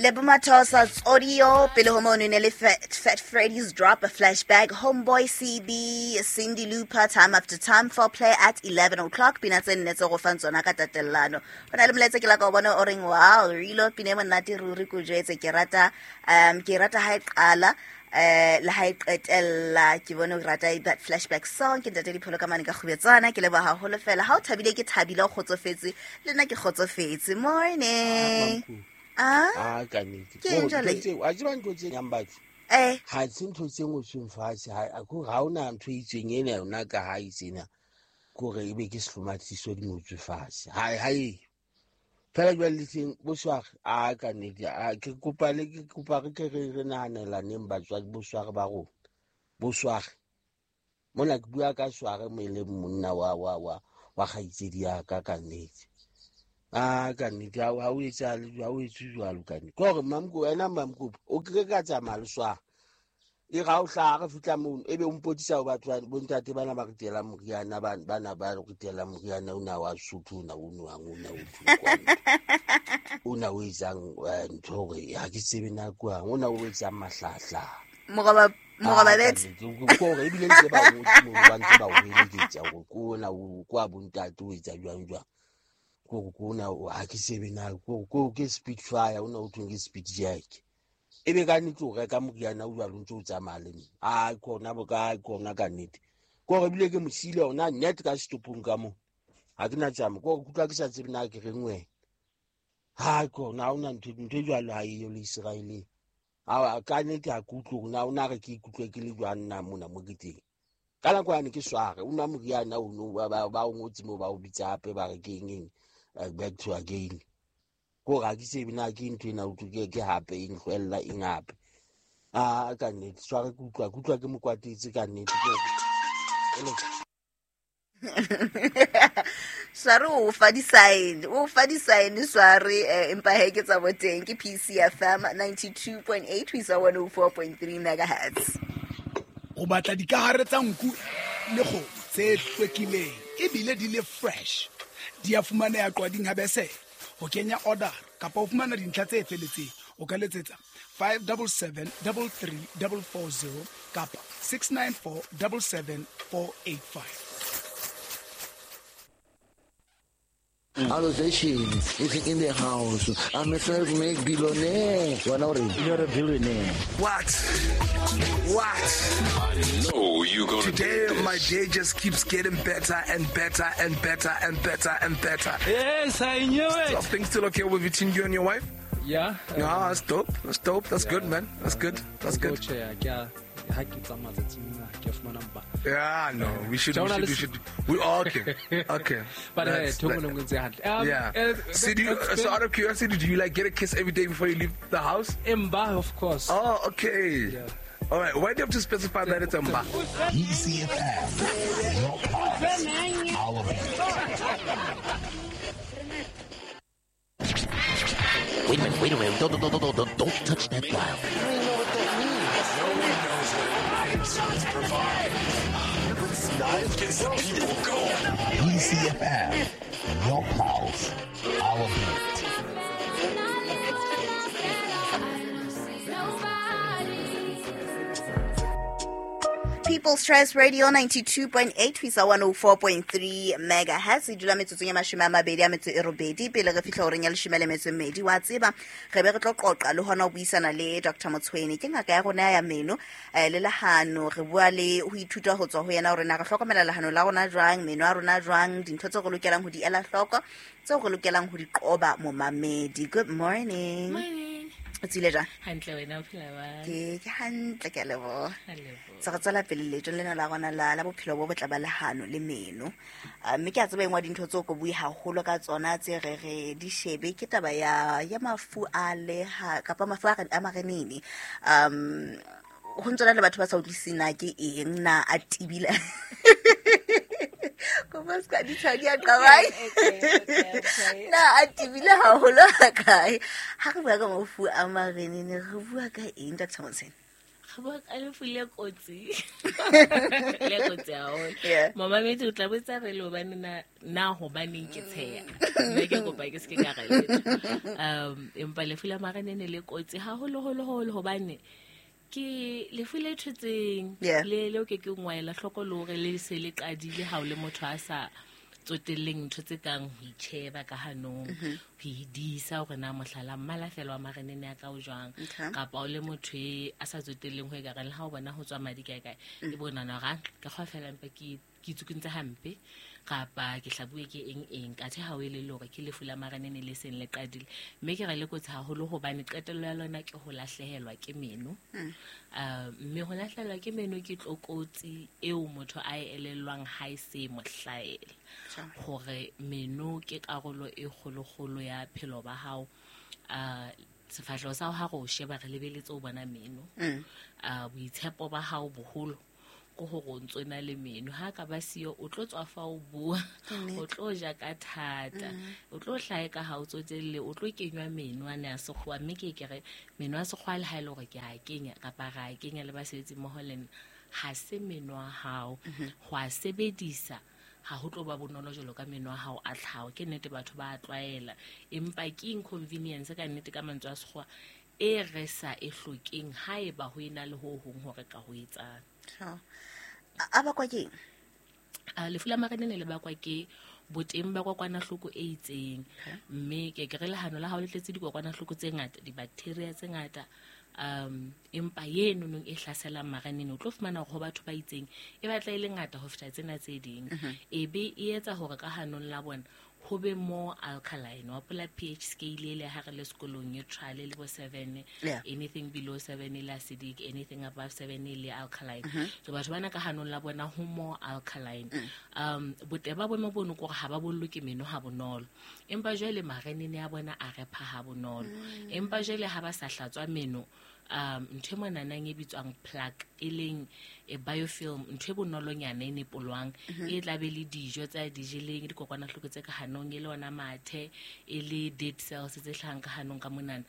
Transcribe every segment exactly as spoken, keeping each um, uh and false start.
Lebo Mathosa Audio pele ho mono ne le Fat, Fat Freddy's Drop a Flashback, Homeboy C B, Cindy Looper, Time After Time for play at eleven o'clock. Pina tse nne tse go fang tsona ka tatellano. Ho na le molaetsa ke la ka o bona o reng wow, rilo pina e monate ruri ko jwetse ke rata um ke rata ha e qala eh le ha e qetella ke bone o rata that flashback song ke ntate Dipholo ka mane ka kgubetsana ke leboha haholo fela ha o thabile ke thabile o kgotsofetse le nna ke kgotsofetse. Morning. Ah, ah ka nnete. Ke eng jwale? A tseba ntho tse nyang batho. Eh. Ha se ntho tse ngotsweng fatshe, ha ko ha ona ntho e itseng ena yona ka ha itsena. Kore ebe ke sehlomathiso di ngotswe fatshe. Ha ha e. Fela jwale le teng bosware a ka nnete a ke kopa le ke kopa re ke re re nahanela neng batswadi bosware ba rona. Bosware. Mona ke bua ka sware mo e leng monna wa wa wa wa kgaitsedi ya ka ka nnete. Ah ka nnete ha o etsa ha o etse jwalo ka nnete. Ke hore mamko wena mamko o ke ka tsamaya le sware. E ga o hlaha re fihla mono ebe o mpotisa ho batho bo ntate bana ba ritela moriana ba bana ba ritela moriana ona wa Sotho ona o nwang ona o thukwana. Ona o etsang ntho hore ha ke tsebe na kwang ona o etsang mahlahla. Moroba moroba bet. Ke hore ebile ntse ba o mo ba ntse ba o heletsa hore ko ona o kwa bo ntate o etsa jwang jwang. Ko ko ona ha ke tsebe na ko ko ke speed fire ona o thweng ke speed jack. Ebe ka nnete o reka moriana o jwalo ntse o tsamaya le nna. Ai kona bo ka kona ka nnete. Ke hore ebile ke mosile ona net ka setopong ka mo. Ha ke na tsama ke hore kutlwa ke sa tsebe na ke reng wena. Ha kona ha ona ntho ntho e jwalo ha eyo le Israeleng. Ha ka nnete ha ke utlwe hore na o na re ke ikutlwe ke le jwang nna mona mo ke teng. Ka nako yane ke sware o nwa moriana ono ba ba o ngotse moo ba o bitsa hape ba re ke eng eng back to again. Ko ga ke tsebe na ke ntho ena o ke ke hape eng hlwella eng hape. Ah ka nnete sware ke utlwa ke utlwa ke mokwatetse ka nnete ke. Sware o fa di-sign o fa di-sign sware empa he ke tsa boteng ke P C F M ninety-two point eight ho isa one oh four point three megahertz. O batla dikahare tsa nku le kgomo tse hlwekileng ebile di le fresh. Di a fumaneha Qwading ha bese. Ho kenya order kapa o fumana dintlha tse feletseng o ka letsetsa five seven seven three three four four zero kapa six nine four seven seven four eight five. Allocation is in the house. I'm a self-made billionaire. You're a billionaire. What? What? I know you're gonna Today, do this. My day just keeps getting better and better and better and better and better. Yes, I knew it. So, things still okay with between you and your wife? Yeah. Ah, that's dope. That's dope. That's yeah. good, man. That's good. That's good. Yeah, no, we should, we should, we should, we okay, okay. But uh, um, yeah. Uh, so, do you, so out of curiosity, do you like get a kiss every day before you leave the house? Mba, of course. Oh, okay. Yeah. All right. Why do you have to specify that it's Mba? P C F M, your pulse, our beat. Wait a minute, wait a minute. Don't, don't, don't, don't, don't touch that dial. Gets the people going. P C F M, your pulse, our beat. People's Choice Radio ninety-two point eight ho isa one oh four point three megahertz. E dula metsotsong ya mashome a mabedi a metso e robedi pele re fihla horeng ya leshome le metso e mmedi. Wa tseba re be re tlo qoqa le hona ho buisana le Doctor Motshweni, ke ngaka ya rona ya meno eh, le lehano. Re bua le ho ithuta ho tswa ho yena hore na re hlokomela lehano la rona jwang, meno a rona jwang, dintho tseo re lokelang ho di ela hloko, tseo re lokelang ho di qoba momamedi. Good morning. Morning. O tsile jwang? Hantle, wena o phela jwang? Ke ke hantle, ke a leboha. Se re tswela pele leetong lena la rona la la bophelo bo botle ba lehano le meno. Mme ke a tseba engwe dintho tseo ko bue haholo ka tsona tse re re di shebe ke taba ya ya mafu a leha kapa mafu a a marenene. Um ho ntse le batho ba sa utlwisiseng na ke eng na a tibile. Ko ba ska di tshadi a qabai. Na a tibile haholo ha kae. Ha re bua ka mafu a marenene re bua ka eng Doctor Motshweni? Re bua ka lefu le kotsi. Le kotsi haholo. Momamedi o tla botsa re le hobane na na hobaneng ke tsheya. Mme ke kopa ke se ke ka re letho. Um empa lefu la marenene le kotsi haholo holo holo hobane ke lefu le thotseng le le o ke ke ngwaela hloko le hore le se le qadile ha o le motho a sa tsotelleng ntho tse kang ho itjheba ka hanong, ho idisa hore na mohlala mmala fela wa marenene a ka o jwang, kapa o le motho e a sa tsotelleng ho e ka reng le ha o bona ho tswa madi kae kae e bona na ra ka kgwa fela mpa ke ke itsukuntse hampe kapa ke hlabuwe ke eng eng ka the ha o ile le hore ke lefu la marenene le seng le qadile. Mme ke re le kotsi haholo hobane qetello ya lona ke ho lahlehelwa ke meno. Uh, mme ho lahlehelwa ke meno ke tlokotsi eo motho a e elellwang ha e se mohlaela. Hore meno ke karolo e kgolokgolo ya phelo ba hao. Uh, sefahleho sa hao ha re o sheba re lebeletse o bona meno. Uh, boitshepo ba hao boholo ko hore o ntso na le meno. Ha ka ba siyo o tlo tswa fa o bua, o tlo ja ka thata, o tlo hlahe ka ha o tsotelle, o tlo kenywa meno a ne a sekgowa. Mme ke ke re meno a sekgowa le ha e le hore ke a kenya kapa ra a kenya le basebetsi mmoho le nna, ha se meno a hao. Ho a sebedisa ha ho tlo ba bonolo jwalo ka meno a hao a tlhaho. Ke nnete batho ba a tlwaela, empa ke inconvenience ka nnete ka mantswe a sekgowa e re sa e hlokeng haeba ho ena le ho hong hore ka ho etsang. A bakwa ke eng? Lefu la marenene le bakwa ke boteng ba kokwanahloko e itseng. Mme ke ke re lehano la hao le tletse dikokwanahloko tse ngata, dibacteria tse ngata, um empa yeno nong e hlaselang marenene o tlo fumana hore ho batho ba itseng e batla e le ngata ho feta tsena tse ding. E be e etsa hore ka hanong la bona ho be more alkaline. Wa pola pH scale le ha re le sekolong neutral le bo seven, anything below seven le acidic, anything above seven le alkaline. So batho bana ka hanong la bona ho more alkaline. Um boteba bo mo bono gore ha ba bollo ke meno ha bonolo, empa jwale marenene a bona a repha ha bonolo. Empa jwale ha ba sa hlatswa meno, um ntho e monanang e bitswang plaque e leng e biofilm, ntho e bonolonyana e nepolwang e tla be le dijo tsa di jeleng, dikokwanahloko tse ka hanong e le ona mathe, e le dead cells tse hlahang ka hanong ka monana,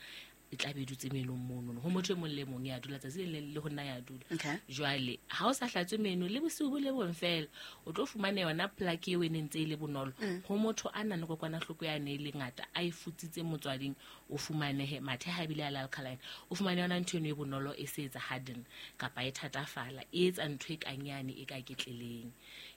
e tla be dutse menong mono. Ho motho e mong le mong ya dula tsatsi le le ho nna ya dula. Jwale ha o sa hlatswe meno le bosiu bo le bong fela, o tlo fumana yona plaque eo e neng ntse e le bonolo. Ho motho a nang le kokwanahloko ya ne e le ngata a e futsitse motswading, o fumanehe mathe ha ebile a le alkaline, o fumane yona ntho eno e bonolo e se etsa harden kapa e thatafala, e etsa ntho e kanyane e ka ketleleng.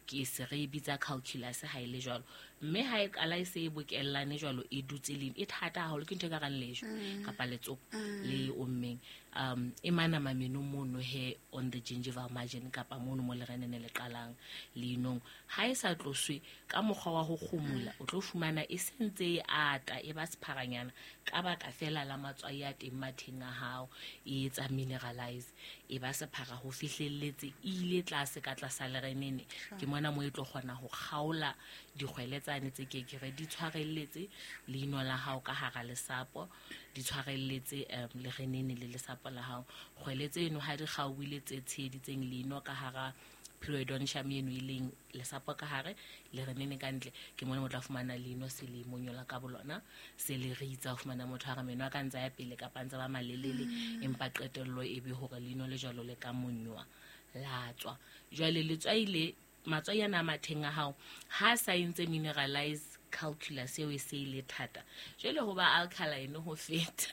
Ke se re bitsa calculus ha e le jwalo. Mme ha e qala e se e bokellane jwalo e dutse leng e thata haholo, ke ntho e ka rang lejwe kapa letsopa le ommeng. Um e mana mameno mono he on the gingival margin kapa mono mo lerenene le qalang leinong. Ha e sa tloswe ka mokgwa wa ho kgumula, o tlo fumana e sentse e ata e ba sepharanyana ka baka fela la matswai a teng matheng a hao, e etsa mineralize e ba sephara ho fihlelletse e ile tlase ka tlasa lerenene. Ke mona mo e tlo kgona ho kgaola dikgwele tsane tse ke ke re di tshwarelletse leino la hao ka hara lesapo, di tshwarelletse um lerenene le lesapo la hao. Kgwele tseno ha di kgaohile tse tsheheditseng leino ka hara periodontium eno e leng lesapo ka hare lerenene ka ntle, ke mona mo tla fumana leino se le monyola ka bolona, se le ritsa. Ho fumana motho ha re meno a ka ntsa ya pele kapa ntsa ba malelele, empa qetello e be hore leino le jwalo le ka monywa la tswa. Jwale letswai le matswai ana a matheng a hao ha sa entse mineralize calculus eo e se ile thata, jwale ho ba alkaline ho feta.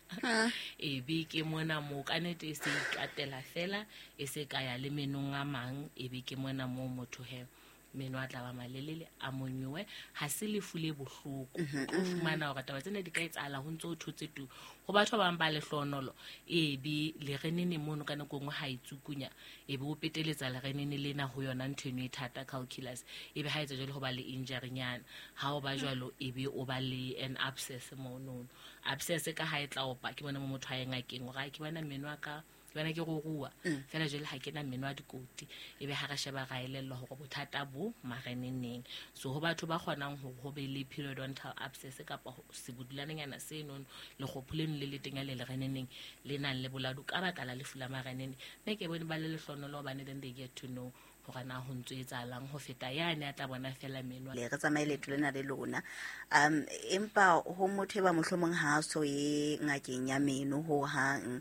E be ke mona mo ka nete e se ikatela fela e se ka ya le menong a mang, e be ke mona mo motho he meno a tla ba malelele a monywe. Ha se lefu le bohloko, o fumana hore taba tsena di ka etsahala ho ntso o thotse tu. Ho batho ba bang ba lehlonolo e be lerenene mono ka nako nngwe ha itsukunya, e be o peteletsa lerenene lena ho yona ntho eno e thata calculus, e be ha etsa jwale ho ba le injury nyana. Ha o ba jwalo e be o ba le an abscess mono. Abscess ka ha e tla opa ke bona mo motho a ye ngakeng hore ke bona meno a ka bana ke go rua fela jwale ha ke na meno a dikoti, e be ha re sheba ra elellwa hore bothata bo mareneneng. So ho batho ba kgonang hore ho be le periodontal abscess kapa sebudulananyana seno lekgopho leno le le teng le lereneneng le nang le boladu ka baka la lefu la marenene, nne ke bone ba le lehlonolo hobane then they get to know hore na ho ntso etsahalang ho feta yane a tla bona fela meno. Le re tsamaye leeto lena le lona. Um empa ho motho e ba mohlomong ha so ye ngakeng ya meno ho hang,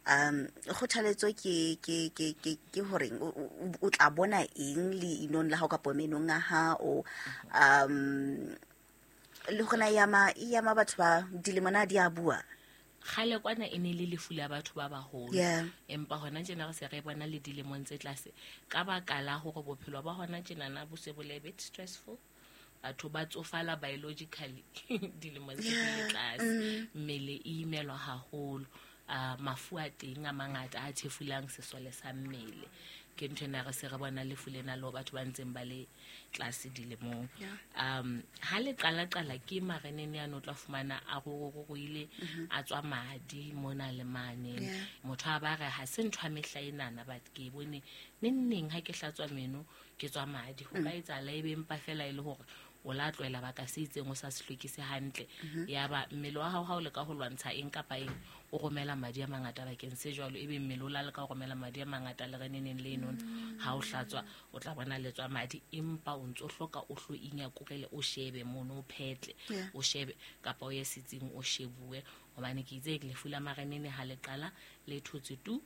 Um kgothaletso ke ke ke ke ke horeng o o- o tla bona eng leinong la hao kapa menong a hao, um le gona e ama e ama batho ba dilemo na di a bua? Kgale kwana e ne le lefu la batho ba baholo. Yeah. Empa hona tjena re se re bona le dilemong tse tlase, ka baka la hore bophelo ba hona tjenana bo se bo le a bit stressful. Batho ba tsofala biologically dilemong tse di le tlase. Mm. Mmele e imelwa haholo. uh, mafu a teng a mangata a thefulang sesole sa mmele. Ke ntho ena re se re bona lefu lena le ho batho ba ntseng ba le tlase dilemong. Um ha le qala-qala ke marenene ano, o tla fumana a roroile, a tswa madi mona le mane. Yeah. Motho a ba re ha se ntho ya mehla enana, but ke e bone neng neng ha ke hlatswa meno ke tswa madi. Ho ka etsahala ebe empa fela e le hore o la tlohela baka se itseng o sa se hlwekise hantle, ya ba mmele wa hao ha o leka ho lwantsha eng kapa eng, o romela madi a mangata bakeng se jwalo. Ebe mmele o la leka ho romela madi a mangata le reneneng le enono, ha o hlatswa o tla bona le tswa madi, empa o ntso hloka o hlo inyakorele, o shebe mono, o phetle, Yeah. o shebe kapa o ye setsing o shebuwe, hobane ke itse lefu la marenene ha le qala le thotse tu.